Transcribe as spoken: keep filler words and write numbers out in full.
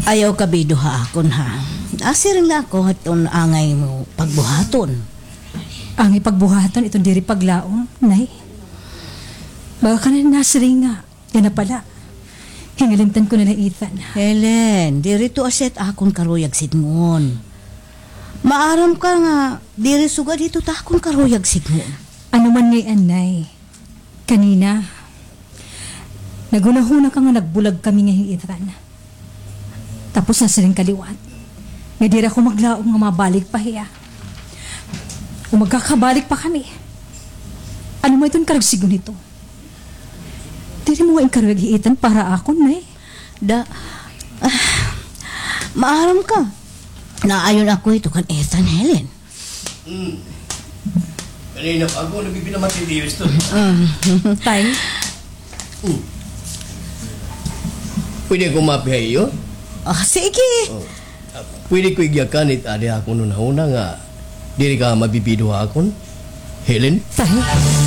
Ayaw ka bido ha akon, ha. Asiring la ako hadton angay mo pagbuhaton. Angay pagbuhaton iton diri paglaom, Nay. Baka ka na nasiring nga yana pala. Hingalimtan ko na la hi Ethan. Helen, diri ito asya it akon karuyag sidngon. Maaram ka nga diri sugad hito it akon karuyag sidngon. Ano man ngay-an, Nay. Kanina, naghunahuna ka nga nagbulag kami nga hi Ethan. Tapos nasiring ka liwat nga diri ako maglaom nga mabalik pa hiya. O magkakabalik pa kami. Ano man iton karuyag sidngon hito? Diri mo ngay-an karuyag hi Ethan para ha akon, Nay. Da, ah, maaram ka. Naayon ako hito kan Ethan, Helen. Hmm. Kanina pa ako nagpipinamati diyo ito. Tay? Hmm. Pwede ako mapi ha iyo? Ah, sige. Oh. Pwede ko igyakan it adi ha akon hunahuna nga diri ka mabibido ha akon, Helen? Tay?